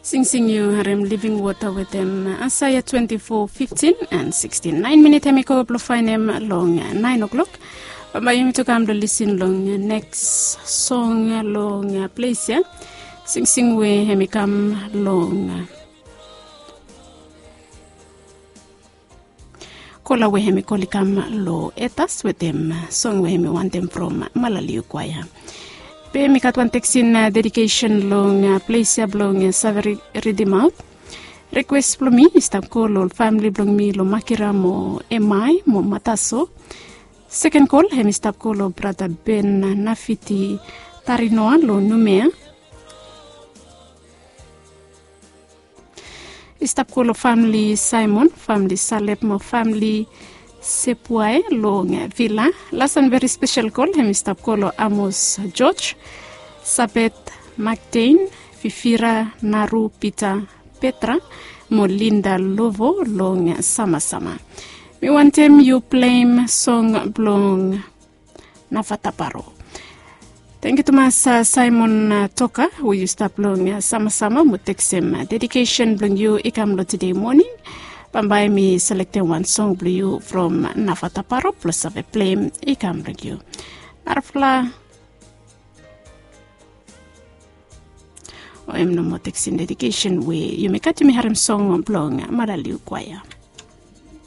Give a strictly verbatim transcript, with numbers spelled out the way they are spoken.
Singsing yu harem living wota wetem Asaia twenti fo fiftin and sikstin. Naen minit hem i go blong faenem long naen o'klok. Bambae yumi tu kam blong lisin long neks song long ples ya. Singsing we hem i kam long kola we hem i kol i kam long etas wetem song we hem i wantem from malaliu kwaea. Be mi gat wan teksin dedikesen long ples ya blong save ridimaot. Rikwes blong mi i stap go long ol famili blong mi long makira mo emai mo mataso. Seken kol hem i stap go long brata ben nafiti tarinoa long numea. I stap go long famili saimon, famili salep mo famili sepuae long vila. Las and veri spesel kol hem i stap go long amos, joj, sabet, maktein, fifira, naru, pita, petra, mo linda lovo long samasama. Mi wantem yu pleim song blong navataparo. Tengiu tumas saimon toka we yu stap long samasama mo teksem dedikesen blong yu i kam long tede moning. Bambae mi selektem wan song blong yu from navataparo blong save pleim i kam long yu. Narafala o em nomo teksin dedikesen we yumi gat yumi harem song blong malaliu kwaea.